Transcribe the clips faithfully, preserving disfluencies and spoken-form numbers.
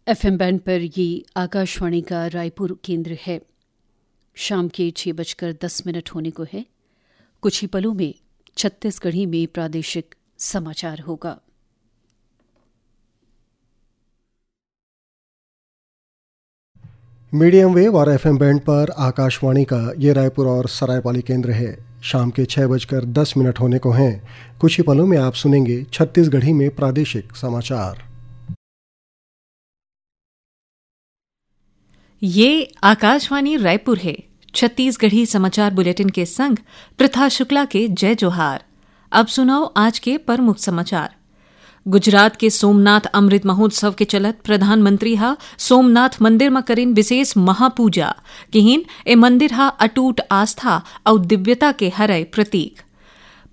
FM band पर ये आकाशवाणी का रायपुर केंद्र है। शाम के छह बजकर दस मिनट होने को है। कुछ ही पलों में छत्तीसगढ़ी में प्रादेशिक समाचार होगा। मीडियम वेव और एफएम बैंड पर आकाशवाणी का ये रायपुर और सरायपाली केंद्र है। शाम के छह बजकर दस मिनट होने को हैं। कुछ ही पलों में आप सुनेंगे छत्तीसगढ़ी में प्रादेशिक समाचार। ये आकाशवाणी रायपुर है। छत्तीसगढ़ी समाचार बुलेटिन के संग प्रथा शुक्ला के जय जोहार। अब सुनव आज के प्रमुख समाचार। गुजरात के सोमनाथ अमृत महोत्सव के चलत प्रधानमंत्री ह सोमनाथ मंदिर म करिन विशेष महापूजा। किहिन, ए मंदिर ह अटूट आस्था अउ दिव्यता के हरय प्रतीक।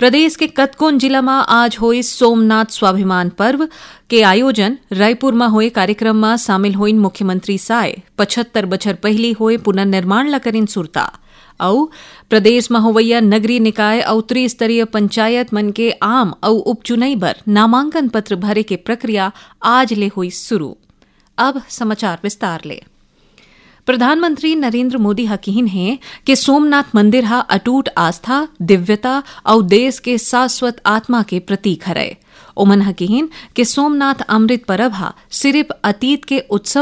प्रदेश के कतकोन जिला म आज होइस सोमनाथ स्वाभिमान पर्व के आयोजन। रायपुर म होए कार्यक्रम म शामिल होइन मुख्यमंत्री साय। पचहत्तर बछर पहिली होए पुनर्निर्माण ल करिन सुरता। अउ प्रदेश म होवइया नगरीय निकाय अउ त्रिस्तरीय पंचायत मन के आम अउ उपचुनई बर नामांकन पत्र भरे के प्रक्रिया आज ले होइस शुरू। अब समाचार विस्तार ले। प्रधानमंत्री नरेंद्र मोदी ह किहिन हे कि सोमनाथ मंदिर ह अटूट आस्था, दिव्यता अउ देश के शाश्वत आत्मा के प्रतीक हरय। ओमन ह किहिन कि सोमनाथ अमृत परब ह सिरिफ अतीत के उत्सव